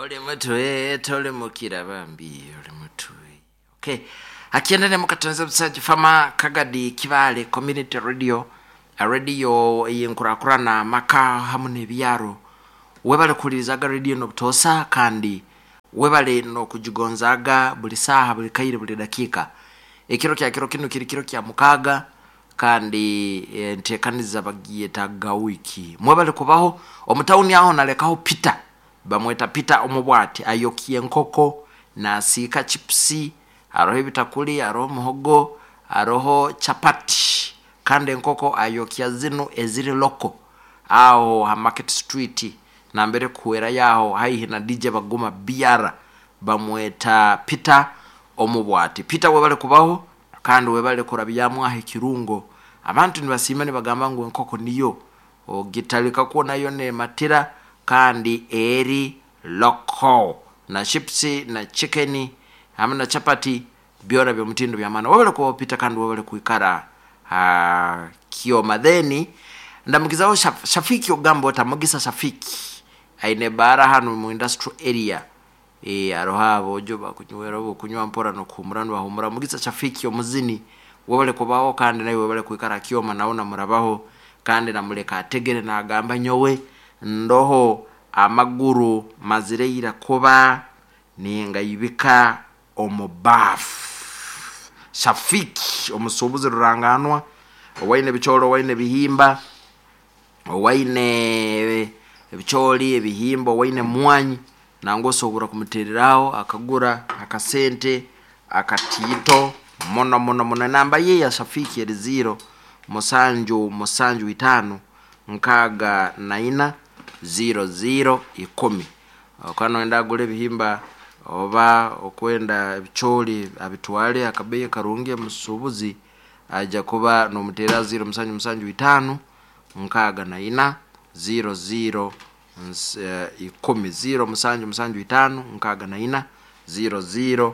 Oli mutwe tolimukira bambi oli mutwe. Okay. Akiendene mukatonze busaji fama Kagadi Kibale Community Radio radio eyenkurakurana amaka hamu n'ebyaro. Webale kuhulirizaga radio n'obutoosa kandi webale n'okugigonzaaga buli saaha buli kaire buli dakiika. Ekiro kya kiro kinu kiri kiro kya mukaaga kandi enteekaniza bagiyeta wiki. Mwebale kubaho omu tawuni aho nalekaho Peter bamweta Peter Omubwati ayokia enkoko nasiika chipusi haroho ebitakuli haroho muhogo haroho chapati kandi enkoko ayokya zinu eziri loko aho ha Market Street nambere kuhwera yaho haihi na DJ Baguma BR bamweta Peter Omubwati. Peter webale kubaho kandi webale kurabyamu aho ekirungo. Abantu nibasiima nibagamba ngu enkoko niyo ogitalika nayo nematira kandi eri loko na chipsi na chicken hamwe na chapati byona byomutindo byamana. Webale kubaho Peter kandi webale kwikara Kioma. Then ndamugizaho Shafiki ogamba ota Mugisa Shafiki aine bara hano mu industrial area aroho abojo bakunywera bokunywa mpora nokuhumura nibahumura. Mugisa Shafiki omuzini webale kubaho kandi nawe webale kwikara Kioma nawe namurabaho kandi namuleka ategere nagamba nyowe ndoho amaguru mazireira kuba ningayibika omubafu. Shafiki omusuubuzi ruranganwa owaine ebicoori owaine ebihimba owaine ebicoori ebihimba owaine mwanyi nangwa osobora kumutereraho akagura akasente akatiito muno muno muno. Enamba ye ya Shafiki eri 0 7 7 5 64 0 0 10. Okaba noyenda agure ebihimba oba okwenda ebicoori abitwale akabeeyi karungi omusuubuzi aija kuba nomuteerera 0 7 7 5 64 0 0 10 0 7 7 5 64 0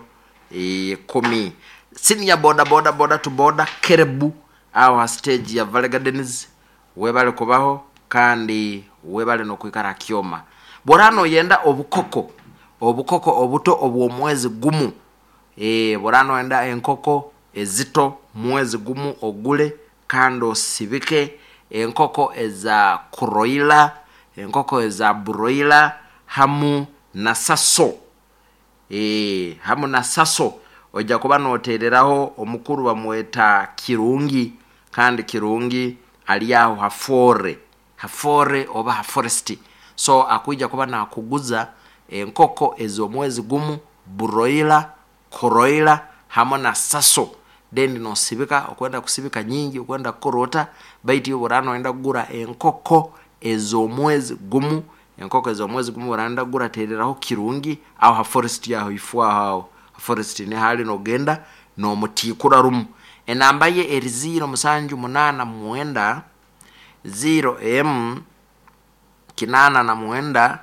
0 10. Senior boda boda boda to boda Kerebu aho ha stage ya Valley Gardens webale kubaho kandi webale nokwikara Kioma. Bwora noyenda obukoko obukoko obuto obw'omwezi gumu bwora noyenda enkoko ezito mwezi gumu ogule kandi osibike enkoko eza kuroila enkoko eza broiler hamu na saso hamu na saso ojja kuba notereraho omukuru bamweta Kirungi kandi Kirungi ali aho hafore hafore oba haforest so akwija kuba nakuguza enkoko ez'omwezi gumu broiler kuroiler hamu na saso then nosibika okwenda kusibika nyingi okwenda kukorota baitu iwe bwora noyenda kugura enkoko ez'omwezi gumu enkoko ez'omwezi gumu bwora noyenda kugura tereraho Kirungi aho ha forest aho ifo aho forest nihali nogenda nomutikura rumu. Enamba ye eri 0 7 8 9 0 M 89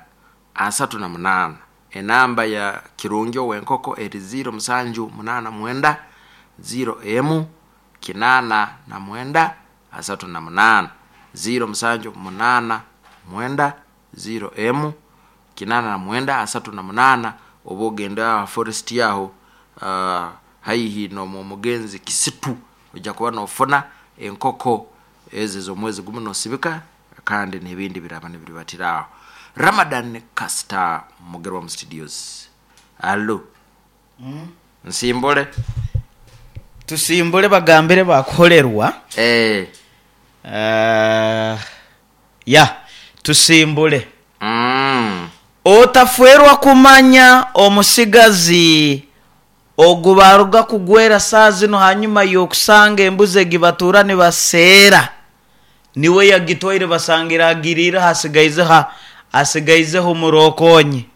38. Enamba ya Kirungi ow'enkoko eri 0 7 8 9 0 M 89 38 0 7 8 9 0 M 89 38. Oba ogenda aha forest yaho haihi n'omugenzi Kisitu ojja kuba nofuna enkoko ezo ez'omwezi gumu nosibika kandi n'ebindi biraba nibiribatira aho. Ramadan Castor Mugerwa mu studios. Allo. Nsimbule. Tusimbule bagambire bakuholerwa. Ya, tusimbule. Otafwerwa kumanya omusigazi ogu baruga kugwera saaha zino hanyuma y'okusanga embuzi egi batuura nibaseera niwe yagitwaire basangire agiriireho asigaizeho asigaizeho omurokonye.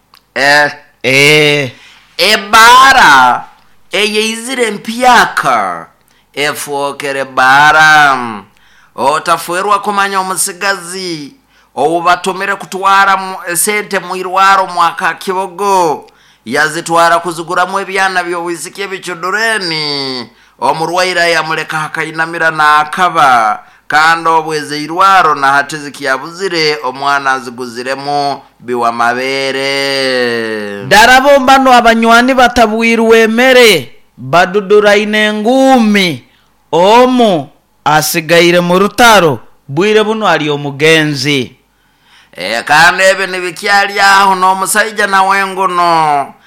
Eh. Ebaara eyeizire empyaka efookere baara. Otafwerwa kumanya omusigazi ou batumire kutwara esente mu irwaro mwaka Kibogo yazitwara kuziguramu ebyana by'obwisiki ebicudureni omurwaire yamuleka akainamira naakaba Kandi obwo ez'eirwaro na hati zikyabuzire omwana aziguziremu biwamabeere. Darabo mbanu abanywani batabwirwe emere, baduduraine enguumi, omu asigaire mu rutaro, bwire bunu ari omugenzi. Kandi ebi nibikyali aho n'omusaija nawe nguno.